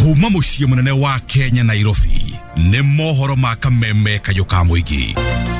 Kuma muciĩ munene wa Kenya Nairobi nĩ mohoro ma kameme kayũ ka mũingĩ.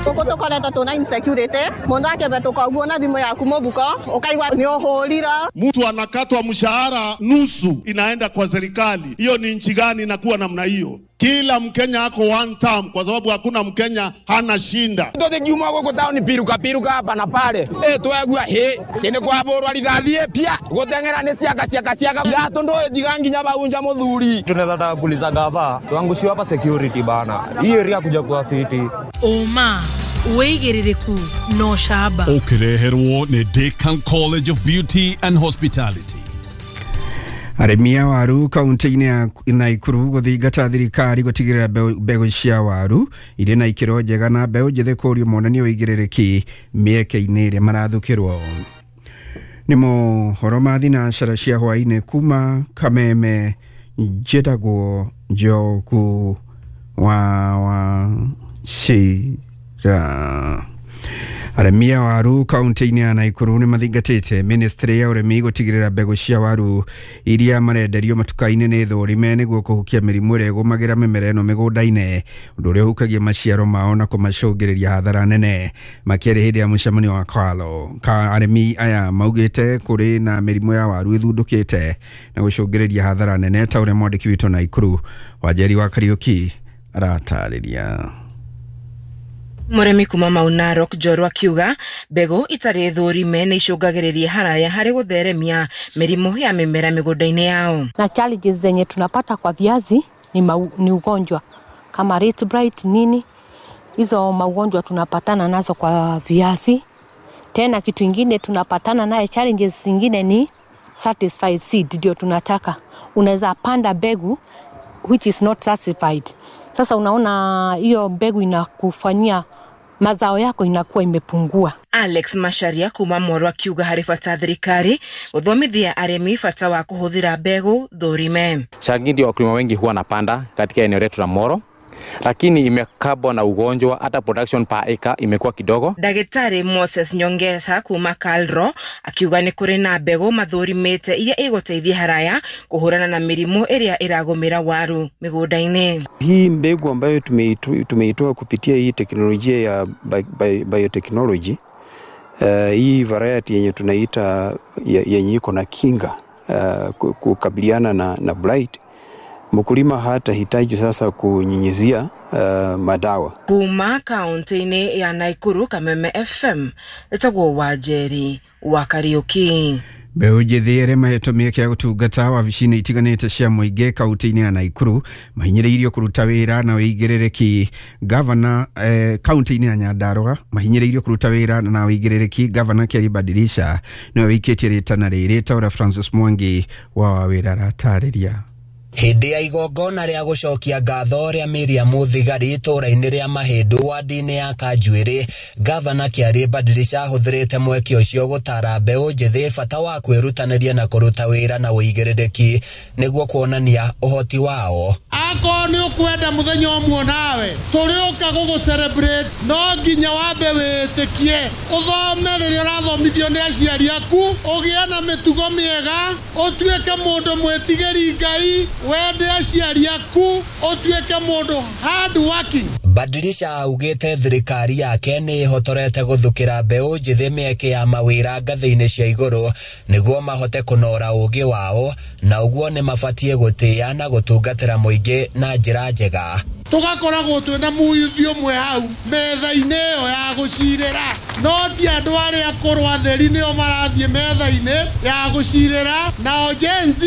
Gũkũ tũkoretwo tuna insecurity, mũndũ akĩhetũka ũguo na thimũ yaku mũbuko ũkaigua nĩ ũhũrira. Mtu anakatwa mshahara nusu inaenda kwa serikali. Hiyo ni nchi gani inakuwa namna hiyo? Kila Mkenya ako one term kwa sababu hakuna Mkenya hana shinda. Tũthiĩ gũkũ taũni piruka piruka hapa na pale. Twegua hĩ kĩnĩ kwabũrwa rithathi pia gũteng'era nĩ ciaka ciaka ciaka iratũ ndũĩ ndiga nginya baunja mũthuri. Tunaweza taka kuuliza gava tuangushiwe hapa security bana. Hii area kuja kuwa fiti. Ũma wĩigĩrĩrĩku na ũcamba. Ũkĩreherwo nĩ Decan College of Beauty and Hospitality. Arĩmi a waru kaunti-inĩ ya Naikuru gũthingata thirikari gũtigĩrĩra mbegũ cia waru irĩ na ikĩro njega na mbeũ njĩthĩ kũũrio monanie ũigĩrĩrĩki mĩeke-inĩ ĩrĩa marathukĩrwo. Nĩ mohoro ma thinacara cia hwaĩ-inĩ kuma Kameme, njĩtagwo Njogu wa Wachira. Arĩmi a waru kaunti-inĩ ya Naikuru nĩ mathingatĩte ministry ya ũrĩmi gũtigĩrĩra mbegũ cia waru iria marenderio matuka-inĩ nĩ thũrime nĩguo kũhukia mĩrimũ ĩrĩa ĩgũmagĩra mĩmera ĩno mĩgũnda-inĩ, ũndũ ũrĩa ũhukagia maciaro mao na kũmacũngĩrĩria hathara nene. Makĩaria hĩndĩ ya mũcemanio wa Kwalo, arĩmi aya maugĩte kũrĩ na mĩrimũ ya waru ĩthundũkĩte na gũcũngĩrĩria hathara nene, ta ũrĩa mwandĩki witũ Naikuru Wanjeri wa Kariũki aratarĩria. Mũrĩmi kuma Mau Narok Njorua akiuga mbegũ itarĩ thũrime nĩ icũngagĩrĩria haraya harĩ gũtheremia mĩrimũ ya mĩmera mĩgũnda-inĩ yao. Na challenges zenye tunapata kwa viazi ni ugonjwa kama red bright nini, hizo maugonjwa tunapatana nazo kwa viazi. Tena kitu ingine tunapatana naye challenges zingine ni certified seed, ndio tunataka. Unaweza panda mbegu which is not certified. Sasa unaona hiyo mbegu inakufanyia mazao yako inakuwa imepungua. Alex Macharia kuma Moro akiuga harĩ bata thirikari gũthomithia arĩmi bata wa kũhũthĩra mbegũ thũrime. Changi ndio wakulima wengi huwa wanapanda katika eneo letu la Moro, lakini imekabwa na ugonjwa, hata production per acre imekuwa kidogo. Ndagĩtarĩ Moses Nyongesa kuma Kalro akiuga nĩ kũrĩ na mbegũ mathũrimĩte iria igũteithia haraya kũhũrana na mĩrimũ ĩrĩa ĩragũmĩra waru mĩgũnda-inĩ. Hii mbegu ambayo tumeitoa kupitia hii teknolojia ya biotechnology, hii variety yenye tunaita yenye iko na kinga kukabiliana na blight, mkulima hata hitaji sasa kunyunyizia madawa. Kuma kaunti-inĩ ya Naikuru, Kameme FM, etagwo Wanjeri wa Kariũki. Mbeũ njĩthĩ arĩa mahetwo mĩeke ya gũtungata wabici-inĩ itiganĩte cia mũingĩ kaunti-inĩ ya Naikuru mahinyĩrĩirio kũruta wĩra na ũigĩrĩrĩki. Gavana kaunti-inĩ ya Nyandarua mahinyĩrĩirio kũruta wĩra na ũigĩrĩrĩki. Gavana Keri Badilisha nĩwe wĩikĩtie rĩtana rĩrĩ, ta ũrĩa Francis Mwangi wa Wawĩra aratarĩria. Hĩndĩ ya igongona rĩa gũcokia ngatho rĩa Miriam Thigari itũũra-inĩ rĩa Mahĩndũ wadi-inĩ ya Kanjuĩrĩ, Gavana Kĩarĩ Badilisha ahũthĩrĩte mweke ũcio gũtara mbeũ njĩthĩ bata wa kwĩrutanĩria na kũruta wĩra na ũigĩrĩrĩki nĩguo kuonania ũhoti wao. Akorwo nĩ ũkwenda mũthenya ũmwe nawe tũrĩũka gũgũ celebrate, no nginya wambe wĩtĩkie, ũthome rĩrĩa ũrathomithio nĩ aciari aku, ũgĩe na mĩtugo mĩega, ũtuĩke mũndũ mwĩtigĩri Ngai, wende aciari aku, ũtuĩke mũndũ hard working. Badilisha augĩte thirikari yake nĩ ĩhotorete gũthukĩra mbeũ njĩthĩ mĩeke ya mawĩra ngathĩ-inĩ cia igũrũ nĩguo mahote kũnora ũũgĩ wao, na ũguo nĩ mabatiĩ gũtĩĩa na gũtungatĩra mũingĩ na njĩra njega. Tũgakoragwo twĩna mũyuthi ũmwe hau metha-inĩ ĩyo ya gũcirĩra, no ti andũ arĩa akũrũ atheri nĩo marathiĩ metha-inĩ ya gũcirĩra, nao Gen Z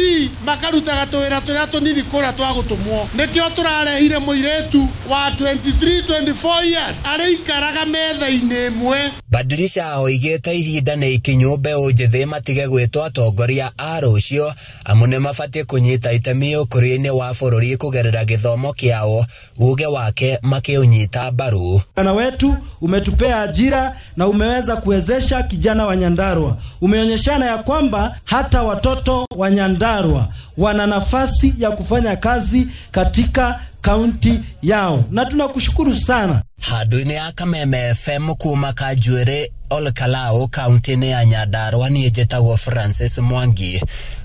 makarutaga tũwĩra tũrĩa tũnini kũrĩa twa gũtũmwo. Nĩkĩo tũrarehire mũirĩtu wa 23 24 years arĩikaraga metha-inĩ ĩmwe. Badilisha oigĩte ihinda nĩ ikinyu mbeũ njĩthĩ matige gwĩtwo atongoria a rũciũ, amu nĩ mabatiĩ kũnyita itemi ũkũria-inĩ wa bũrũri kũgerera gĩthomo kĩao, uge wake makĩũnyita mbaru. Bwana wetu umetupea ajira na umeweza kuwezesha kijana wa Nyandarua. Umeonyeshana ya kwamba hata watoto wa Nyandarua wana nafasi ya kufanya kazi katika kaunti yao, na tunakushukuru sana. Handũ-inĩ ya Kameme FM kuma Kanjuĩrĩ Olkalou kaunti-inĩ ya Nyandarua, niĩ njĩtagwo Francis Mwangi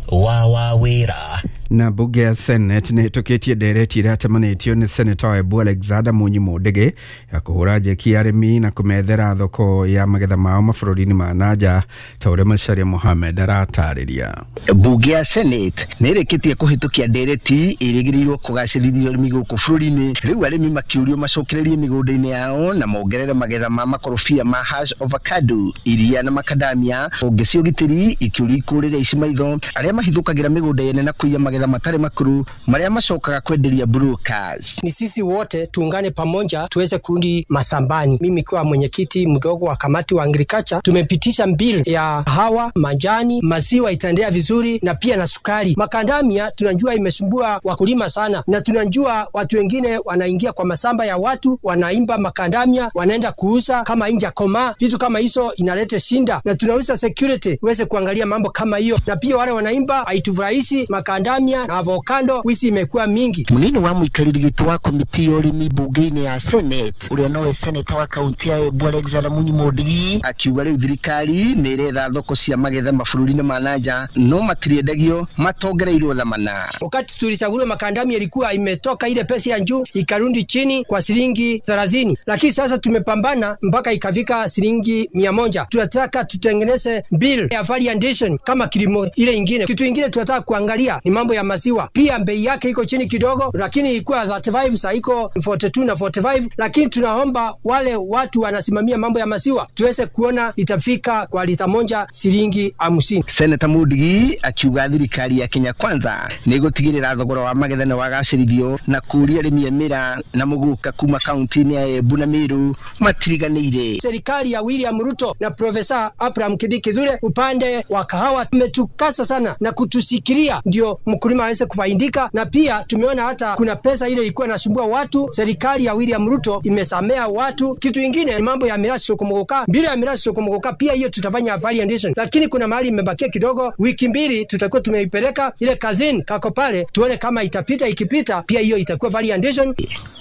wa Wawĩra. Na bunge ya Senate nĩ ĩhĩtũkĩtie ndereti ĩracemanĩtio nĩ Seneta wa Embu Alexander Munyi Mundigi ya kũhũra njeki arĩmi na kũmethera thoko ya magetha mao mabũrũri-inĩ ma nanja ta ũrĩa Macharia Mohamed aratarĩria. Bunge ya Senate nĩ ĩrĩkĩtie kũhĩtũkia ndereti ĩrĩgĩrĩirwo kũgacĩrithia ũrĩmi gũkũ bũrũri-inĩ. Rĩu arĩmi makĩũrio macokererie mĩgũnda-inĩ yao na mongerere magetha ma makorobia ma hash avocado, iria na makadamia. Honge cia ũgitĩri ikĩũrio ikũrĩre ici maitho arĩa mahithũkagĩra mĩgũnda yene na kũiya magetha matarĩ makũrũ marĩa macokaga kwenderia brokers. Ni sisi wote tuungane pamoja tuweze kurudi masambani. Mimi kwa mwenyekiti mdogo wa kamati wa agriculture tumepitisha bill ya hawa majani, maziwa itaendelea vizuri na pia na sukari. Makandamia tunajua imesumbua wakulima sana, na tunajua watu wengine wanaingia kwa masamba ya watu wanaimba makandamia wanaenda kuuza kama inja koma, vitu kama hizo inaleta shinda, na tunauza security uweze kuangalia mambo kama hiyo, na pia wale wanaimba haitufurahishi makandamia na avocado wisi imekuwa mingi. Munini wa muikariri giti wa komiti ya ũrĩmi bunge-inĩ ya Senate ũrĩa nowe seneta wa kaunti ya Embu Alexander Munyi Mundigi akiuga rĩu thirikari nĩ ĩretha thoko cia magetha mabũrũri-inĩ ma nanja no matiriendagio matongereirwo thamana. Wakati tulichaguliwa makandamia ilikuwa imetoka ile pesa ya juu ikarudi chini kwa shilingi 30, lakini sasa tumepambana mpaka ikafika shilingi 100. Tunataka tutengeneze bill ya value addition kama kilimo ile ingine. Kitu ingine tunataka kuangalia ni mambo ya maziwa, pia bei yake iko chini kidogo, lakini ilikuwa 35 sasa iko 42 na 45, lakini tunaomba wale watu wanasimamia mambo ya maziwa tuweze kuona itafika kwa lita moja shilingi 50. Senator Mundigi akiuga thirikari ya Kenya Kwanza nĩ ĩgũtigĩrĩra thogora wa magetha nĩ wagacĩrithio na kũũria arĩmi a mĩraa na mũgũka kuma kaunti-inĩ ya Embu na Meru matiriganĩire. Serikali ya William Ruto na Profesa Abraham Kindiki Kithure upande wa kahawa umetukasa sana na kutusikiria ndio mkulima aweze kufaidika, na pia tumeona hata kuna pesa ile ilikuwa inasumbua watu, serikali ya William Ruto imesamea watu. Kitu kingine ni mambo ya mirasi sokomogoka, bila ya mirasi sokomogoka pia hiyo tutafanya value addition, lakini kuna mahali imebakia kidogo, wiki mbili tutakuwa tumeipeleka ile kazini kako pale tuone kama itapita, ikipita pia hiyo itakuwa value addition.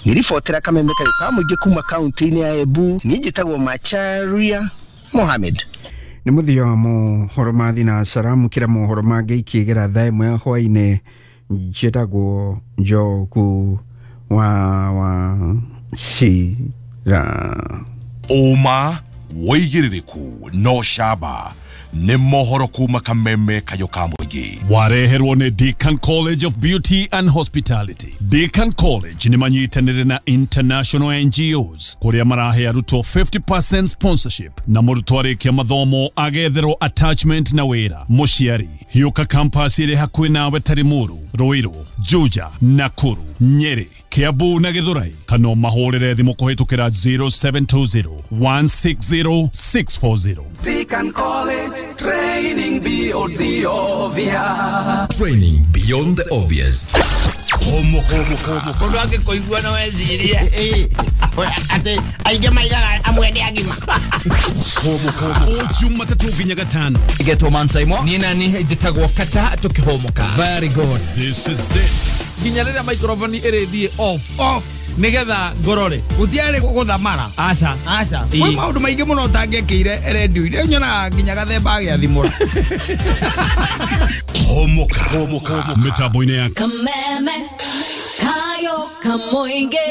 Nilifotera kameme kayo mũingĩ kuma kaunti-inĩ ya Embu, niĩ njĩtagwo Macharia Mohamed. Nĩ mũthia wa mohoro ma thinacara mũkĩra mohoro mangĩ ikĩgera thaa ĩmwe ya hwaĩ-inĩ. Njĩtagwo Njogu wa Wachira. Ũma wĩigĩrĩrĩku no camba nĩ mohoro kuma kameme kayo ka mũingĩ. Wareherwo nĩ Deacon College of Beauty and Hospitality. Deacon College nĩ manyitanĩire na international NGOs kũrĩa marahe arutwo 50% sponsorship na mũrutwo arĩkia mathomo agetherwo attachment na wĩra. Mũciari hiũka campus ĩrĩ hakuhĩ nawe ta Limuru, Ruiru, Juja, Nakuru, Nyeri, Kiambu na Githurai, kana mahũrĩre thimũ kũhĩtũkĩra 0720 160 640. Deacon College, training beyond the obvious. Training beyond the obvious. Mũndũ angĩkũigua no ecirie atĩ aingĩ maigaga amwe nĩ agima. O Jumatatũ nginya Gatano. Getwo Mansaimo. Niĩ nani njĩtagwo Kata tũkĩhũmũka. Very good. This is it. Nginya rĩrĩa microphone ĩrĩthiĩ off nigetha ngorore gutiarĩ gũthamara. Aca aca kwĩ maũndũ maingĩ mũno ũtangĩekĩire redio-inĩ nyonaga nginya gathemba agĩathimũra. Homoka mĩtambo-inĩ ya Kameme kayo kamoinge.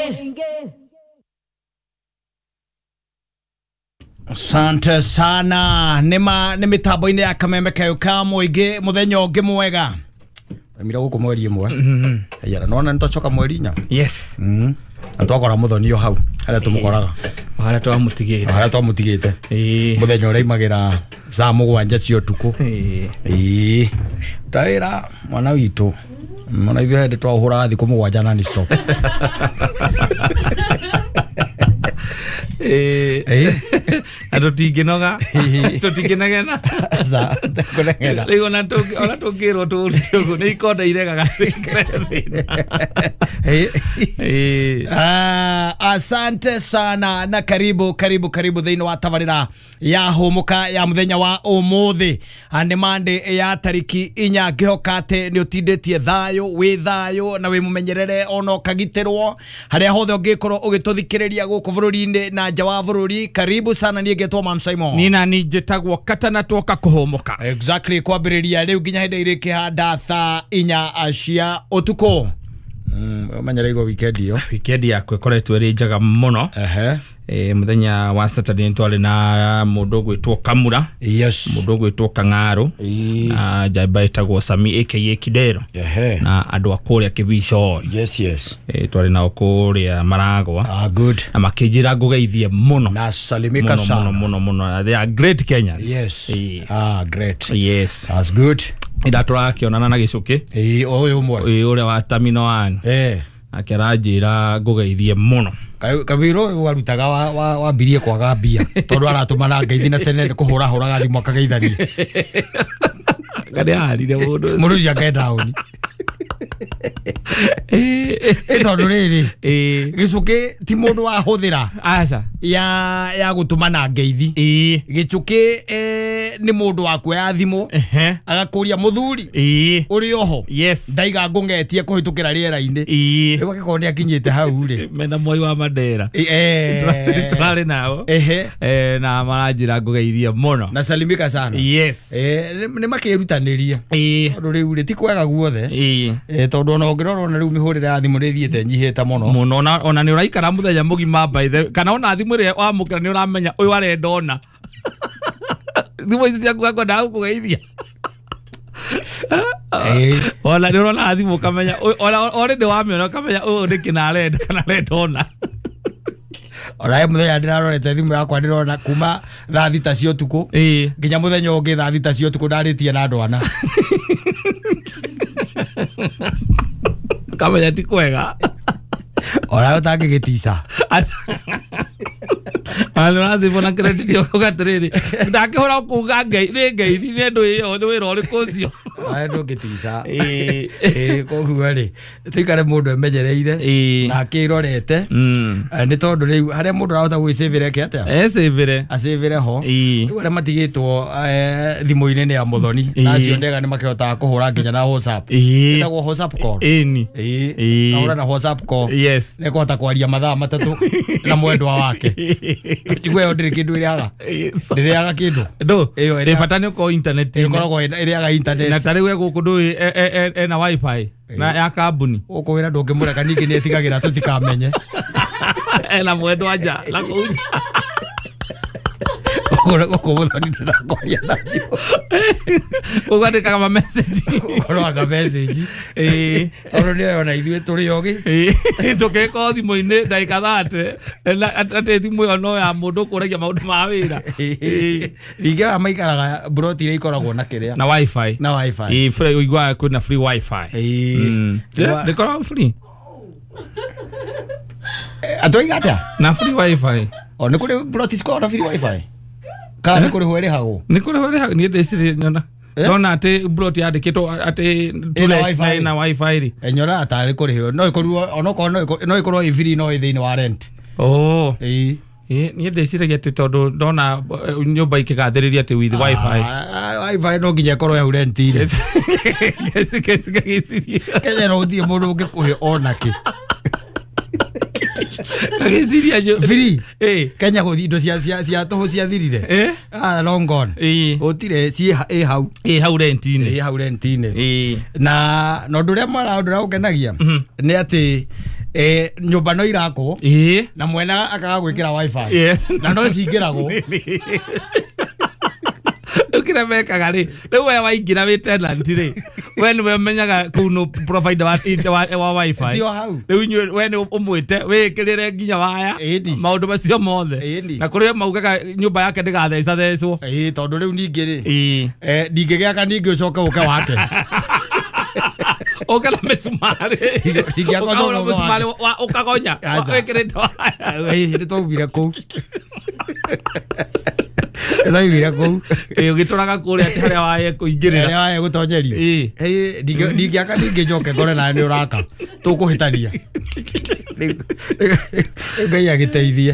Asante sana. Nĩma nĩ mĩtambo-inĩ ya Kameme kayo ka mũingĩ mũthenya ũngĩ mwega. Mira gũkũ mweri ĩmwe. Aiyara nona nĩtwacoka mweri inya. Yes. Na twakora mũthoni o hau harĩa tũmũkoraga. Harĩa twamũtigĩte. Harĩa twamũtigĩte. Mũthenya ũrĩa aimagĩra thaa mũgwanja cia ũtukũ. Ĩĩ. Ta wĩra mwana witũ. Mwana ithuĩ hĩndĩ twaũhũraga thikũ mũgwanja non stop. Na tũtingĩnoga tũtingĩnegena rĩu ona tũngĩrwo tũũrute ũguo nĩ ikonda iregaga. Asante sana na karibu karibu karibu thĩinĩ wa tabarĩra ya hũmũka ya mũthenya wa ũmũthĩ nĩ Monday ya tariki 4. Ngĩhoka atĩ nĩ ũtindĩtie thayũ, wĩ thayũ na wĩ mũmenyerere ona ũkagitĩrwo harĩa hothe ũngĩkorwo ũgĩtũthikĩrĩria gũkũ bũrũri-inĩ na nja wa bũrũri. Karibu sana niĩ Ngetwo Man Simon. Nina ni njĩtagwo Katana twoka kũhũmũka. Exactly, kwambĩrĩria rĩu nginya hĩndĩ irĩkĩhanda thaa 4 cia ũtukũ. Ũmenyereirwo weekend iyo. Weekend yakwa ĩkoretwo ĩrĩ njega mũno. Mũthenya wa Saturday twarĩ na mũndũ ũgwĩtwo Kamura. Yes. Mũndũ ũgwĩtwo Kang'aru. Na njamba ĩtagwo Sami aka Kidero. Na andũ a kũrĩa Kĩbico. Yes, yes. Twarĩ nao kũrĩa Maragwa. Ah, good. Na makĩnjĩra ngũgeithie mũno. Na salimika sana. Mũno mũno mũno. They are great Kenyans. Yes. Ah, great. Yes. That's good. Ira tũrakĩonana na gĩcũkĩ. Ũyũ ũmwe. Ũrĩa wa Terminal 1. Akĩranjĩra ngũgeithie mũno. Kabiro warutaga wambirie kwaga mbia tondu aratũmana ngeithi na tene kũhũra hũraga thimũ akageithania. Ngarĩ arire mũndũ. Mũndũ ũcio akae down. Tondu rĩrĩ gĩcũkĩ ti mũndũ wahũthĩra. Aca. Ya gũtũmana ngeithi. Gĩcũkĩ nĩ mũndũ wa kuoya thimũ agakũria mũthuri ũrĩ oho. Yes. Ndaiga ngũngetie kũhĩtũkĩra rĩera-inĩ. Rĩu angĩkorwo nĩ akinyĩte hau rĩ. Mena Moi wa Mandera. Tũrarĩ nao. Na maranjĩra ngũgeithie mũno. Na salimika sana. Yes. Nĩ makĩrutanĩria. Tondũ rĩu rĩ ti kwega guothe. Tondũ ona ũngĩrora ona rĩu mĩhũrĩre ya thimũ nĩ ĩthiĩte nyihĩte mũno. Mũno ona nĩ ũraikara mũthenya mũgima by the kana ona thimũ ĩrĩa wamũkĩra nĩ ũramenya ũyũ arenda ona. Thimũ ici ciaku akwendaga gũkũgeithia. Ona nĩ ũrona thimũ ũkamenya ona already wamĩona ũkamenya ũyũ nĩ kĩna arenda kana arenda ona. Ona mũthenya ndĩrarorete thimũ yakwa ndĩrona kuma thaa 6 cia ũtukũ nginya mũthenya ũngĩ thaa 6 cia ũtukũ ndarĩtie na andũ ana. Kamenya ti kwega. Ona ũtangĩgĩtica. Andũ arathimwo na credit ũkauga atĩrĩrĩ ndakĩhũra kuga nĩ ngeithi nĩ andũ ĩyo nĩ wĩra ũrĩkũ ũcio. Ae ndũngĩtica. Koguo rĩ tũikare mũndũ emenyereire na akĩrorete nĩ tondũ rĩu harĩa mũndũ arahota gwĩcĩvĩra eke atĩa? Ecĩvĩre. Acĩvĩre ho. Rĩu arĩa matigĩtwo thimũ-inĩ nĩ ya mũthoni na acio ndega nĩ makĩhotaga kũhũra nginya na WhatsApp. Ĩtagwo WhatsApp call. Ĩni. Ahũra na WhatsApp call. Yes. Nĩ ekũhota kwaria mathaa 3 na mwendwa wake. Njigua ĩyo ndĩrĩ kĩndũ ĩrĩaga. Ndĩrĩaga kĩndũ. Ndũ. Ĩyo bata nĩ ũkorwo internet-inĩ. Ĩkoragwo ĩrĩaga internet. Na tarĩu gũkũ ndũĩ ena wifi na ya kambuni. Gũkũ wĩra ndũngĩmũreka ningĩ nĩ etigagĩra tũtikamenye. Ena mwendwa nja na kũu nja. Gũkũ mũthoni ndĩrakwaria na thimũ. Ũgandĩkaga ma message. Ũkorwaga message. Tondũ nĩoĩ ona ithuĩ tũrĩ ogĩ. Tũkĩkorwo thimũ-inĩ ndagĩka 30 atĩ thimũ ĩyo no ya mũndũ ũkũragia maũndũ ma wĩra. Ningĩ aya maikaraga mburoti iria ikoragwo na kĩrĩa. Na wifi. Na wifi. Free ũiguaga kwĩna free wifi. Ndĩkoragwo free. Atũiga atĩa? Na free wifi. O nĩ kũrĩ mburoti cikoragwo na free wifi? Kana nĩ kũrĩhwo ĩrĩhagwo? Nĩ kũrĩhwo ĩrĩhagwo. Niĩ ndĩciria nyona. Ndona atĩ mburoti yandĩkĩtwo atĩ ĩna wifi rĩ. Nyonaga tarĩ kũrĩhwo. No ĩkorirwo onokorwo no ĩkorwo ĩ free no ĩ thĩinĩ wa rent. Oh. Niĩ ndĩciragia atĩ tondũ ndona nyũmba ikĩgathĩrĩria atĩ with wifi. Wifi no nginya ĩkorwo hau rent-inĩ. Kenya no gũtirĩ mũndũ ũngĩkũhe ona kĩ. Kagĩciria free. Kenya gũthiĩ indo cia tũhũ ciathirire. Ah, long gone. Gũtirĩ ciĩ ĩ hau. Ĩ hau rent-inĩ. Ĩ hau rent-inĩ. Na ũndũ ũrĩa mwega ũndũ ũrĩa ũngenagia nĩ atĩ nyũmba no irakwo na mwena akaga gwĩkĩra wifi. Na no cingĩragwo. Rĩu mekaga rĩ rĩu we waingĩra wĩ tenant rĩ we nĩwe ũmenyaga kũu nũ provider wa wifi. Rĩu inyuĩ we nĩ ũmwĩte wĩkĩrĩre nginya waya maũndũ macio mothe. Na kũrĩ maugaga nyũmba yake ndĩgathecathecwo. Tondũ rĩu ningĩ rĩ ndingĩgĩaka ningĩ ũcoke ũke wake. Ũke na mĩcumarĩ. Ũkahũra mũcumarĩ ũkagonya wĩkĩrĩte waya. Nĩ twaumire kũu. Twaumire kũu. Ũgĩtũraga kũrĩa atĩ harĩa waye kũingĩrĩra. Harĩa waye gũtonyerio. Ndingĩaka ningĩ njoke ngore nawe nĩ ũraka. Tũkũhĩtania. Rĩu Ngai agĩteithie.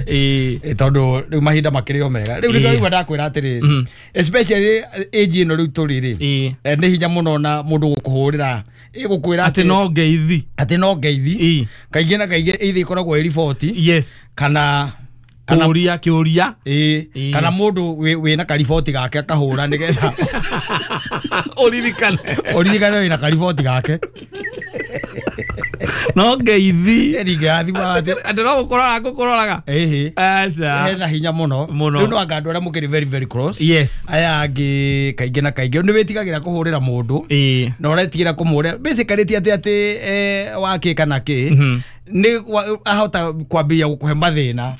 Tondũ rĩu mahinda makĩrĩ o mega. Rĩu nĩkĩo ndakwĩra atĩrĩrĩ. Especially age ĩno rĩu tũrĩ rĩ. Nĩ hinya mũno na mũndũ gũkũhũrĩra. Ĩgũkwĩra atĩ no ngeithi. Atĩ no ngeithi. Kaingĩ na kaingĩ either ĩkoragwo ĩ riboti. Yes. Kana Kũria kĩũria. Ĩĩ, kana mũndũ wĩna kariboti gake akahũra nĩgetha ũririkane. Ũririkane wĩna kariboti gake. No ngeithi. Andũ no gũkũrora ngũkũroraga. Ĩhĩ. Aca. Hena hinya mũno. Rĩu no anga andũ arĩa mũkĩrĩ very very close. Yes. Aya angĩ kaingĩ na kaingĩ nĩ wĩtigagĩra kũhũrĩra mũndũ. Ĩĩ. Na ũretigĩra kũmũhũrĩra. Basically ti atĩ wakĩ kana kĩ. Nĩ ahota kwambĩrĩria gũkũhe mathĩna.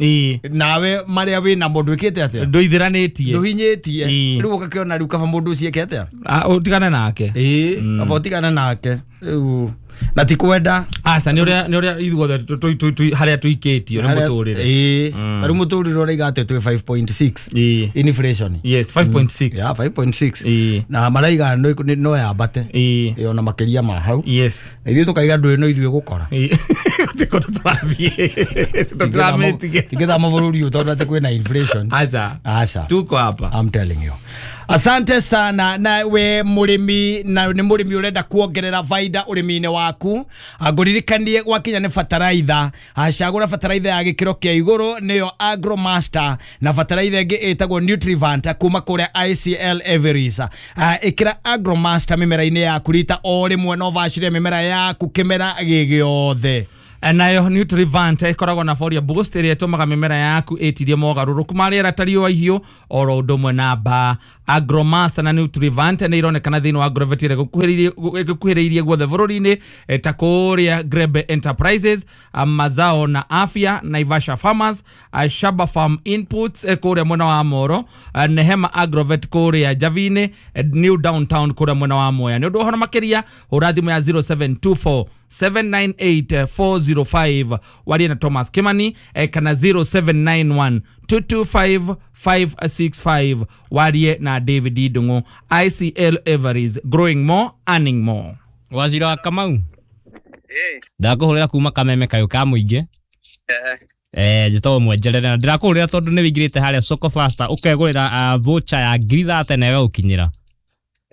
Nawe marĩa wĩna mũndũ wĩkĩte atĩa? Ndũithĩranĩtie. Ndũhinyĩtie. Rĩu ũgakĩona rĩu kaba mũndũ ũcio eke atĩa? Ũtigane nake. Ĩĩ, kaba ũtigane nake. Rĩu na ti kwenda. Aca nĩ ũrĩa ithuothe harĩa tũikĩtio nĩ mũtũrĩre. Ĩĩ, ta rĩu mũtũrĩre ũraiga atĩ twĩ 5.6 inflation. Yes, 5.6. Yeah, 5.6. Na maraiga no yambate. Ĩĩ. Ona makĩria ma hau. Yes. Na ithuĩ tũkaiga ndũĩ no ithuĩ gũkora. Tingĩthama bũrũri ũyũ tondũ atĩ kwĩna inflation. Aca. Aca. Tuko hapa. I'm telling you. Asante sana na we mũrĩmi na nĩ mũrĩmi ũrenda kuongerera faida ũrĩmi-inĩ waku ngũririkanie gwakinya nĩ bataraitha acagũra bataraitha ya gĩkĩro kĩa igũrũ nĩyo Agromaster na bataraitha ĩngĩ ĩtagwo Nutrivant kuma kũrĩa ICL Everis. Ĩkĩra Agromaster mĩmera-inĩ yaku rita o rĩmwe no bacĩre mĩmera yaku kĩmera gĩgĩothe. Nayo Nutrivant ĩkoragwo na Folia Boost ĩrĩa ĩtũmaga mĩmera yaku ĩtirie mogarũrũku ma rĩera ta riũa ihiũ oro ũndũ ũmwe na mbaa. Agromaster na Nutrivant nĩ ironekana thĩinĩ wa Agrovet ĩrĩa ĩgũkuhĩrĩirie guothe bũrũri-inĩ ta kũrĩa Grebe Enterprises, Mazao na Afya, Naivasha Farmers, Shaba Farm Inputs kũrĩa mwena wa Moro, Nehema Agrovet kũrĩa Javine, New Downtown kũrĩa mwena wa Mwea. Nĩ ũndũ wa ũhoro makĩria hũra thimũ ya 0724 798 405 warie na Thomas Kimani kana 0791 225 565 warie na David Idungu. ICL Everis, growing more, earning more. Wazira wa Kamau. Ndakũhũrĩra kuma Kameme kayũ ka mũingĩ. Njĩtagwo Mwenjerere na ndĩrakũhũrĩra tondũ nĩ wĩingĩrĩte harĩa Soko Faster ũkegũrĩra voucher ya 30,000 na ĩgagũkinyĩra.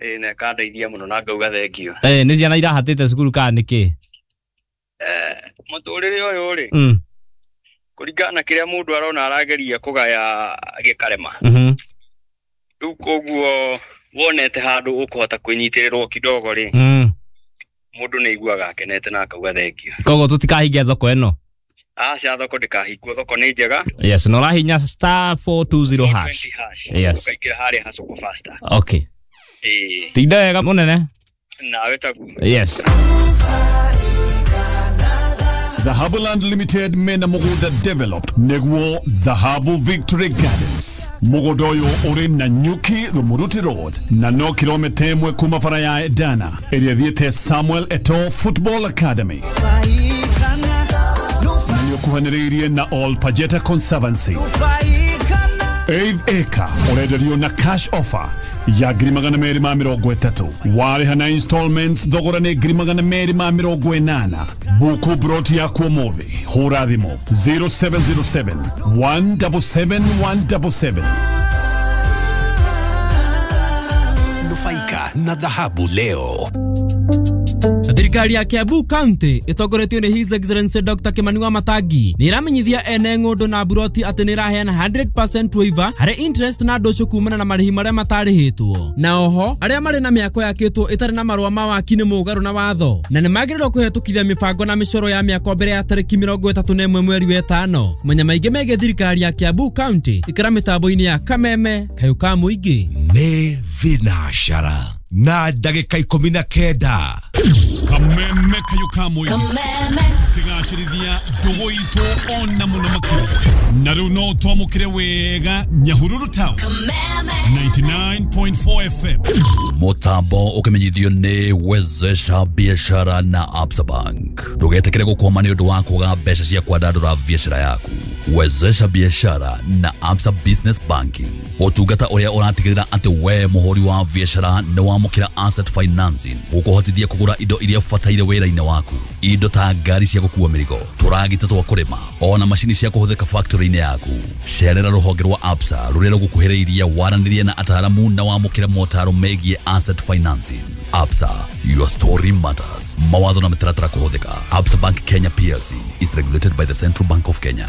Ĩĩ, na ĩkandeithia mũno na ngauga thengio. Nĩ ciana irahatĩte cukuru kana nĩkĩ? Mũtũrĩre ũyũ rĩ, kũringana na kĩrĩa mũndũ arona arageria kũgaya gĩkarema. Rĩu koguo wonete handũ ũkũhota kwĩnyitĩrĩrwo kidogo rĩ, mũndũ nĩ aiguaga akenete na akauga thengio. Koguo tũtikahinge thoko ĩno? Aca, thoko ndĩkahingwo, thoko nĩ njega. Yes, na ũrahinya *420 hash. Yes. Ũkaingĩra harĩa ha Soko Faster. Okay. Ĩĩ. Tinda wega mũnene. Nawe taguo. Yes. Dhahabu Land Limited mena mugunda developed neguo Dhahabu Victory Gardens. Mugunda uyu uri na Nyuki Rumuruti Road na no kilomita 1 kuma bara ya Edana ĩrĩa ĩthiĩte Samuel Eto'o Football Academy. Na nĩũkuhanĩrĩirie na All Pajeta Conservancy. 8 acre ũrenderio na cash offer ya 230,000 warĩha na installments thogora nĩ 280,000. Buku broti yaku ũmũthĩ hũra thimũ 0707 177 177. Nufaika na dhahabu leo. Thirikari ya Kiambu County ĩtongoretio nĩ His Excellency Dr. Kimani Wamatangi nĩ ĩramenyithia ene ng'ũndũ na buroti atĩ nĩ ĩraheana 100% waiver harĩ interest na ndũcũ kumana na marĩhi marĩa matarĩhĩtwo. Na oho arĩa marĩ na mĩako yakĩtwo ĩtarĩ na marũa ma waki nĩ mũgarũ na watho na nĩ magĩrĩirwo kũhetũkithia mĩbango na mĩcoro ya mĩako mbere ya tarĩki 31 mweri wa 5. Kũmenya maingĩ megiĩ thirikari ya Kiambu County ikĩra mĩtambo-inĩ ya Kameme kayũ ka mũingĩ. Nĩ thinashara na ndagĩka 19. Kameme kayũ ka mũingĩ tũkĩgacĩrithia ndũgũ itũ ona mũno makĩria. Na rĩu no twamũkĩre wega Nyahururu Town 99.4 FM. Mutambo ukimenyithio ni Wezesha Biashara na Absa Bank. Ndugetekere gukwama ni undu wa kwaga mbeca cia kwandandura biashara yaku. Wezesha Biashara na Absa Business Banking, utungata uria uratigirira ati we muhuri wa biashara ni wamukira asset financing gukuhotithia kugura indo iria ubataire wira-ini waku, indo ta ngari cia gukua mirigo, turagita twa kurima, ona macini cia kuhuthika factory-ini yaku. Cerera ruhonge rwa Absa ruria rugukuhiriirie waranirie na ataramu na wamukire motaro megie asset financing. Absa, your story matters. Mawatho na mitaratara kuhuthika. Absa Bank Kenya PLC is regulated by the Central Bank of Kenya.